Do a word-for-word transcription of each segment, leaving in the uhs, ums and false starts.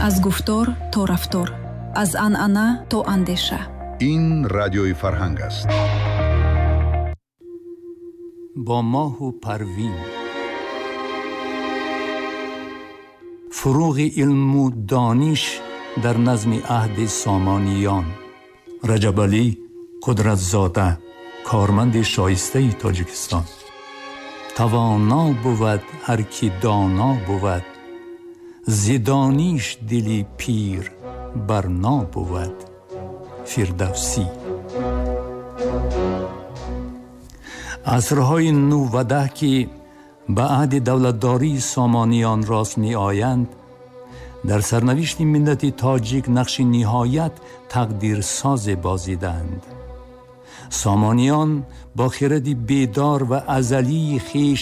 Аз гуфтор то рафтор, аз анъана то андеша. Ин радиои Фарҳанг аст. Бо моҳу Парвин. Фуруғи илму дониш дар назми аҳди Сомониён. Раҷабалӣ Қудратзода, корманди шоистаи Тоҷикистон. Тавоно бувад ҳар ки доно бувад, зи дониш дили пир барно бувад. Фирдавсӣ. Асрҳои нӯҳ ва даҳ, ки ба аҳди давлатдории Сомониён рост меоянд, дар сарнавишти миллати тоҷик нақши ниҳоят тақдирсозе бозиданд. Сомониён бо хиради бедор ва азалии хеш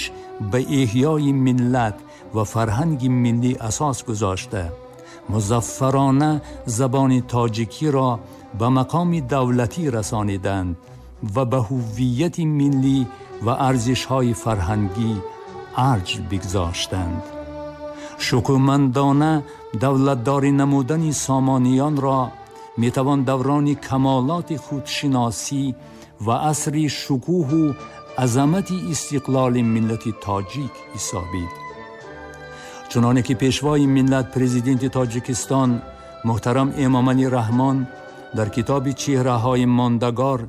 ба эҳёи миллат ва фарҳанги миллӣ асос гузошта, музаффарона забони тоҷикиро ба мақоми давлатӣ расониданд ва ба ҳуввияти миллӣ ва арзишҳои фарҳангӣ арҷ бигзоштанд. Шукӯҳмандона давлатдорӣ намудани Сомониёнро метавон даврони камолоти худшиносӣ ва асри шукӯҳу азамати истиқлоли миллати тоҷик ҳисобид. Чуноне ки пешвои миллат, президенти Тоҷикистон муҳтарам Эмомалӣ Раҳмон дар китоби «Чеҳраҳои мондагор»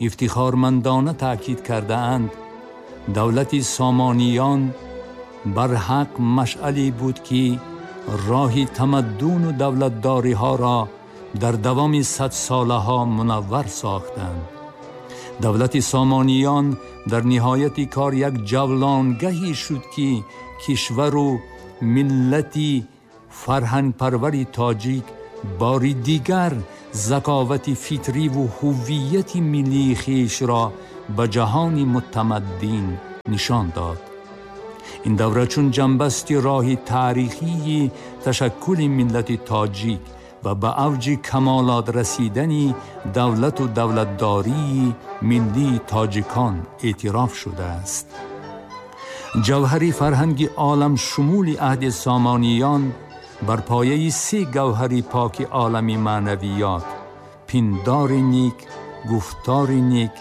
ифтихормандона таъкид кардаанд, давлати Сомониён барҳақ машъале буд, ки роҳи тамаддуну давлатдориҳоро дар давоми садсолаҳо мунаввар сохтанд. Давлати Сомониён дар ниҳояти кор як ҷавлонгаҳе шуд, ки кишвару миллати фарҳангпарвари тоҷик бори дигар заковати фитриву ҳуввияти миллии хешро ба ҷаҳони мутамаддин нишон дод. Ин давра чун ҷанбасти роҳи таърихии ташаккули миллати тоҷик ва ба авҷи камолот расидани давлату давлатдории миллии тоҷикон эътироф шудааст. Ҷавҳари фарҳанги оламшумули аҳди Сомониён бар пояи се гавҳари поки олами маънавиёт: пиндори нек, гуфтори нек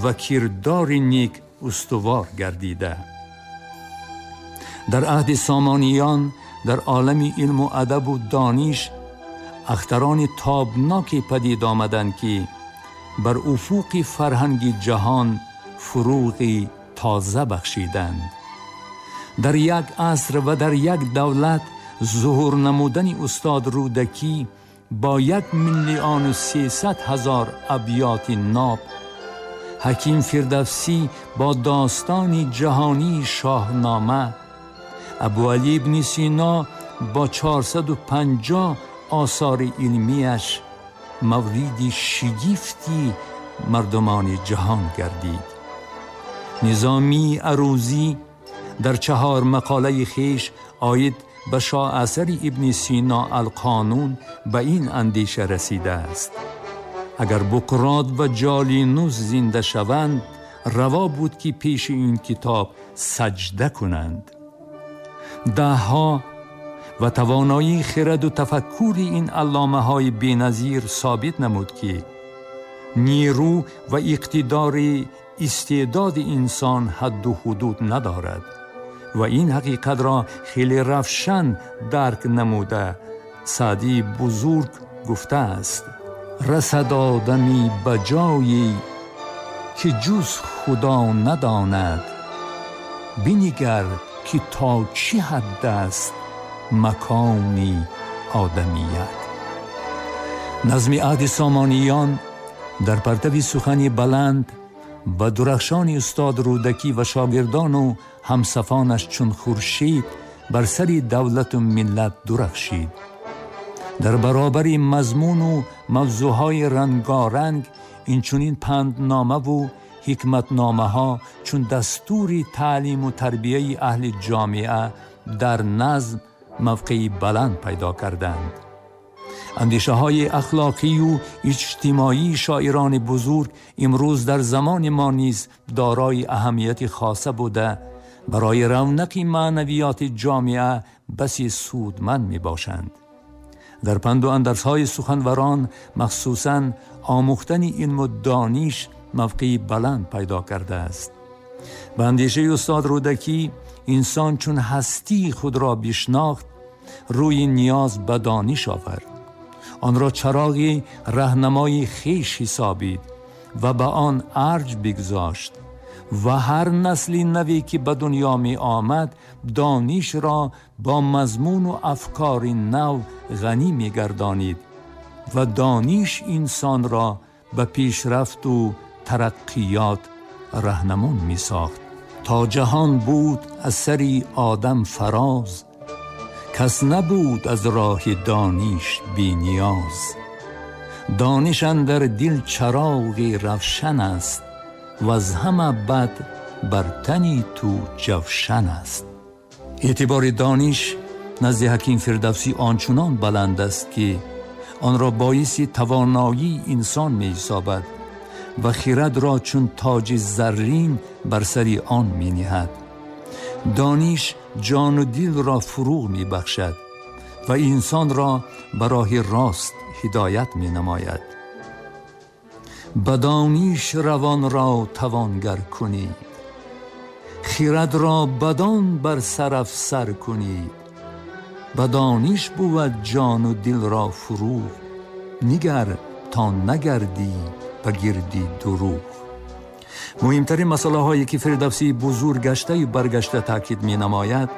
ва кирдори нек устувор гардида. Дар аҳди Сомониён дар олами илму адабу дониш ахтарони тобноке падид омаданд, ки бар уфуқи фарҳанги ҷаҳон фуруғи тоза бахшиданд. Дар як аср ва дар як давлат зуҳур намудани устод Рӯдакӣ бо як миллиону сесад ҳазор абёти ноб, ҳаким Фирдавсӣ бо достони ҷаҳонии Шоҳнома, Абуалӣ ибни Сино бо чорсаду панҷоҳ осори илмияш мавриди шигифти мардумони ҷаҳон гардид. Низомии Арӯзӣ дар чаҳор мақолаи хеш оид ба шоҳасари ибни Сино Алқонун ба ин андеша расидааст: агар Буқрот ва Ҷолинус зинда шаванд, раво буд, ки пеши ин китоб саҷда кунанд. Даҳҳо ва тавоноии хираду тафаккури ин алломаҳои беназир собит намуд, ки нерӯ ва иқтидори истеъдоди инсон ҳадду ҳудуд надорад ва ин ҳақиқатро хеле равшан дарк намуда, Саъдии бузург гуфтааст: расад одамӣ ба ҷое, ки ҷуз Худо надонад, бинигар ки то чӣ ҳад аст макони одамият. Назми аҳди Сомониён дар партави сухани баланд ба дурахшони устод Рӯдакӣ ва шогирдону ҳамсафонаш чун хуршед бар сари давлату миллат дурахшид. Дар баробари мазмуну мавзӯъҳои рангоранг инчунин пандномаву ҳикматномаҳо чун дастури таълиму тарбияи аҳли ҷомеа дар назм мавқеи баланд пайдо карданд. Андешаҳои ахлоқию иҷтимоии шоирони бузург имрӯз дар замони мо низ дорои аҳамияти хоса буда, барои равнақи маънавиёти ҷомеа баси судманд мебошанд. Дар панду андарзҳои суханварон махсусан омӯхтани илму дониш мавқеи баланд пайдо кардааст. Ба андешаи устод Рӯдакӣ, инсон чун ҳастии худро бишнохт, рӯи ниёз ба дониш овард, онро чароғи раҳнамои хеш ҳисобид ва ба он арҷ бигзошт ва ҳар насли наве ки ба дунё меомад, донишро бо мазмуну афкори нав ғанӣ мегардонид ва дониш инсонро ба пешрафту тараққиёт раҳнамун мисохт. То ҷаҳон буд аз сари одам фароз, кас набуд аз роҳи дониш бениёз. Дониш андар дил чароғи равшан аст, ваз ҳама бад бар тани ту ҷавшан аст. Эътибори дониш назди ҳаким Фирдавсӣ ончунон баланд аст, ки онро боиси тавоноии инсон меҳисобад ва хирадро чун тоҷи заррин бар сари он мениҳад. Дониш ҷону дилро фурӯғ мебахшад ва инсонро ба роҳи рост ҳидоят менамояд. Ба дониш равонро тавонгар кунӣ, хирадро бадон бар сар афсар кунӣ. Ба дониш бувад ҷону дилро фурӯғ, нигар то нагардӣ ба гирди дурӯғ. Муҳимтарин масъалаҳое ки Фирдавсии бузург гаштаю баргашта таъкид менамояд,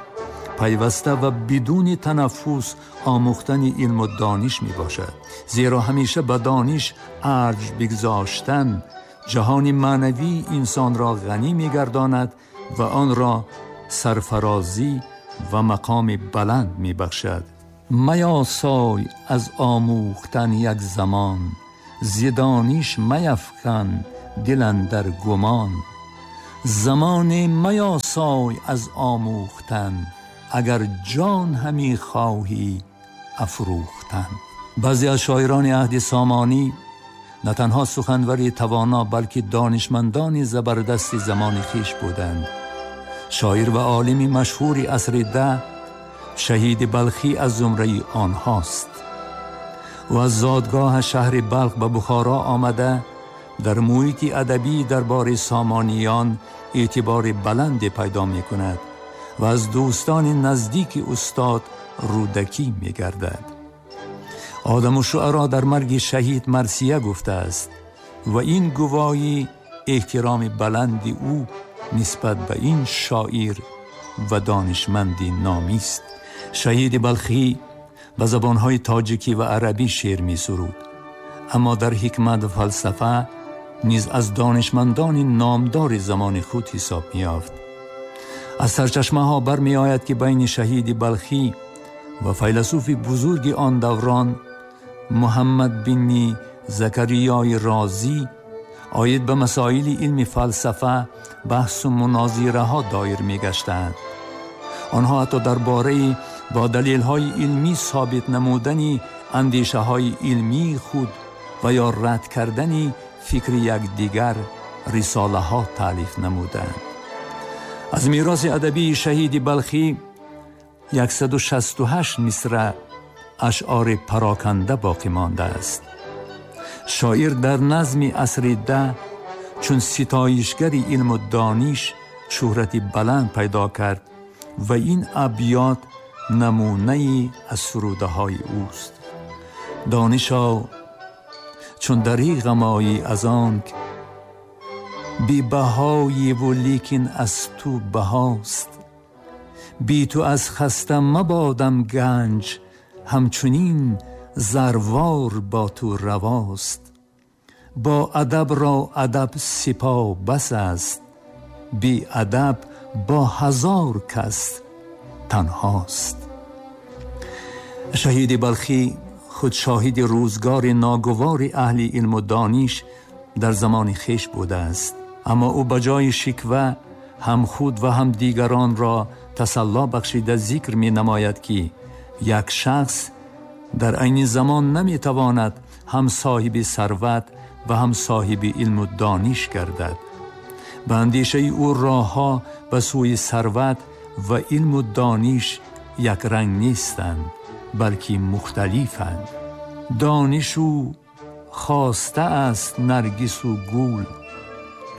пайваста ва бидуни танаффус омӯхтани илму дониш мебошад. Зеро ҳамеша ба дониш арҷ бигзоштан ҷаҳони маънавии инсонро ғанӣ мегардонад ва онро сарфарозӣ ва мақоми баланд мебахшад. Маясой аз омӯхтан як замон, зи дониш маяфкан дил андар гумон. Замоне маясой аз омӯхтан, агар ҷон ҳами хоҳӣ афрӯхтан. Баъзе аз шоирони аҳди Сомонӣ на танҳо суханвари тавоно, балки донишмандони забардасти замони хеш буданд. Шоир ва олими машҳури асри даҳ Шаҳиди Балхӣ аз зумраи онҳост. Ӯ аз зодгоҳ шаҳри Балх ба Бухоро омада, дар муҳити адабӣ дарбори Сомониён эътибори баланде пайдо мекунад ва аз дӯстони наздики устод Рӯдакӣ мегардад. Одаму шуаро дар марги шаҳид марсия гуфтааст ва ин гувоҳи эҳтироми баланди ӯ нисбат ба ин шоир ва донишманди номист. Шаҳиди Балхӣ ба забонҳои тоҷикӣ ва арабӣ шеър месуруд, аммо дар ҳикмат ва фалсафа низ аз донишмандони номдори замони худ ҳисоб меёфт. Аз сарчашмаҳо бармеояд, ки байни Шаҳиди Балхӣ ва файласуфи бузурги он даврон Муҳаммад бини Закариёи Розӣ оид ба масоили илми фалсафа баҳсу мунозираҳо доир мегаштанд. Онҳо ҳатто дар бораи бо далелҳои илмӣ собит намудани андешаҳои илмии худ ва ё рад кардани фикри якдигар рисолаҳо таълиф намуданд. Аз мероси адабии Шаҳиди Балхӣ яксаду шасту ҳашт мисра ашъори пароканда боқӣ мондааст. Шоир дар назми асри даҳ чун ситоишгари илму дониш шӯҳрати баланд пайдо кард ва ин абёт намунае аз сурудаҳои ӯст. Донишо чун дариғам оӣ аз онк бебаҳоеву лекин аз ту баҳост, би ту аз хаста мабодам ганҷ, ҳамчунин зарвор бо ту равост. Бо адаб ро адаб сипо бас аст, беадаб бо ҳазор кас танҳост. Шаҳиди Балхӣ худ шоҳиди рӯзгори ногувори аҳли илму дониш дар замони хеш будааст, аммо ӯ ба ҷои шиква ҳам худ ва ҳам дигаронро тасалло бахшида зикр менамояд, ки як шахс дар айни замон наметавонад ҳам соҳиби сарват ва ҳам соҳиби илму дониш гардад. Ба андешаи ӯ роҳҳо ба сӯи сарват ва илму дониш якранг нестанд. балки мухталифанд. Донишу хоста аст наргису гул,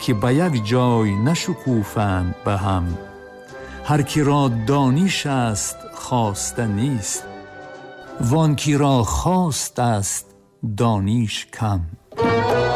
ки ба як ҷой нашукуфанд ба ҳам. Ҳар ки ро дониш аст хоста нест, вон ки ро хост аст дониш кам.